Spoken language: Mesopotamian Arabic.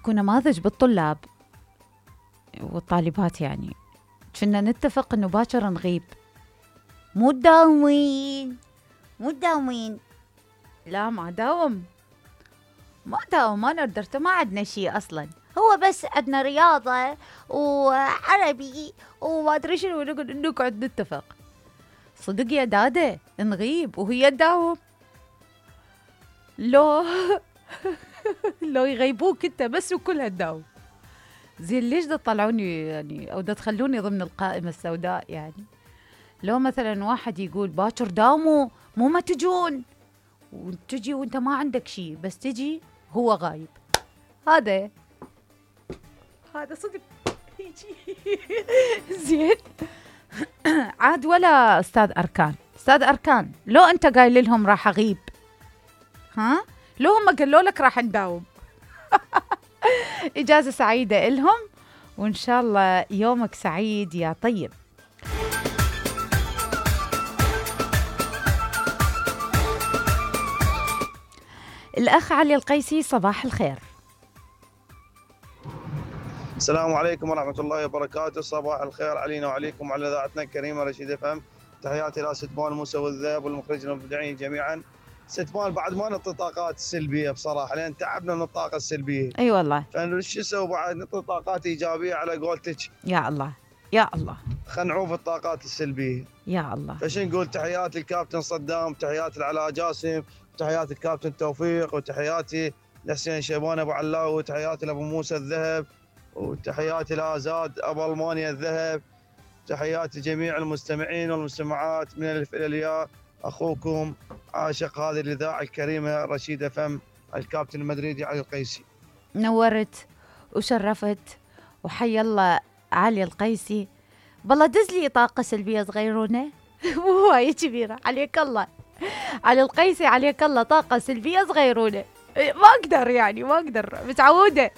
اكو نماذج بالطلاب والطالبات يعني كنا نتفق انه باكر نغيب. مو تداومين لا ما داوم ما نقدر، ما عندنا شيء اصلا، هو بس عندنا رياضة وعربي وما ادري شنو، نقعد نتفق. صدق يا دادة نغيب وهي تداوم؟ لو لو يغيبوك انت بس وكلها تداوم. زين ليش دا تطلعوني يعني او دا تخلوني ضمن القائمة السوداء يعني؟ لو مثلا واحد يقول باكر داوموا مو ما تجون، وتجي وانت ما عندك شيء، بس تجي هو غايب. هذا صدق يجي. زين عاد ولا استاذ اركان لو انت قايل لهم راح اغيب، ها لو هم قالوا لك راح نداوم. اجازة سعيدة إلهم، وان شاء الله يومك سعيد يا طيب. الأخ علي القيسي، صباح الخير. السلام عليكم ورحمة الله وبركاته. صباح الخير علينا وعليكم وعلى إذاعتنا الكريمة رشيد FM. تحياتي إلى ست مال موسى والذهب والمخرجين المبدعين جميعا. ست مال بعد ما نعطي طاقات سلبية بصراحة، لأن تعبنا من الطاقة السلبية. أي والله. فشو نسوي بعد؟ نعطي طاقات إيجابية على قولتك. يا الله يا الله. خلينا نعوف الطاقات السلبية. يا الله. فشو نقول؟ تحياتي الكابتن صدام، تحياتي العلاء جاسم، تحياتي الكابتن توفيق، وتحياتي لحسين شيبان أبو علاوي، وتحياتي لأبو موسى الذهب، وتحياتي لازاد أبو ألمانيا الذهب، تحياتي جميع المستمعين والمستمعات من الألف إلى الياء. أخوكم عاشق هذه الإذاعة الكريمة رشيد FM، الكابتن المدريدي علي القيسي. نورت وشرفت، وحي الله علي القيسي. بالله دز لي طاقة سلبية صغيرونة مو هواية كبيرة. عليك الله علي القيسي، عليك الله، طاقة سلبية صغيرونة ما أقدر يعني، ما أقدر، متعودة.